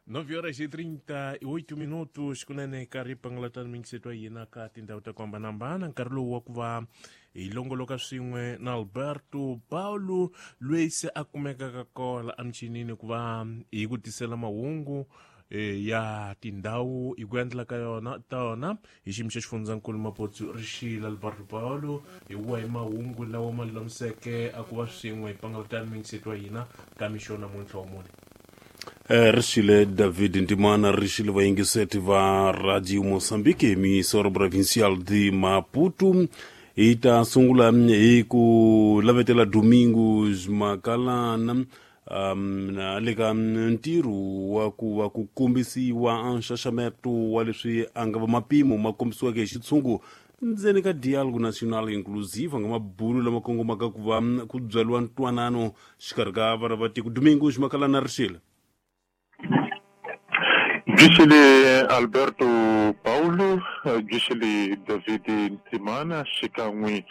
9 horas e 38 minutos kunene nkarhi pangalatani mingiseto ya hina ka tindhawu ta ku hambanahambana. Nkarhi lowu wa ku va hi longoloka swin'we na Alberto Paulo, loyi se a kumekaka kola emichinini ku va hi ku tisela mahungu ya tindhawu hi ku endla ka yona ta yona hi xiyimo xa xifundzankulu Mapotsu. Rixila, Alberto Paulo, hi wahi mahungu lawa ma lulamiseke a ku va swin'we hi pangalatani mingiseto wa hina ka mixo namuntlha wa mune? Rixile David Ndimana, rixile vayingiseti va Radio Mozambique, emissora provincial de Maputo. Hi ta sungula hi ku lavetela Domingos Makalana na le ka ntirho wa ku va ku kombisiwa nxaxameto wa leswi a nga va mapimo ma kombisiweke hi xitshungu ndzeni ka Dialogue National Inclusive, nga mabulu lama kongomaka ku va ku byariwa ntwanano xikarhi ka vana va tiko. Domingos Makalana, rixile. Bixile Alberto Paulo, bixile David Ntimana xikan'we.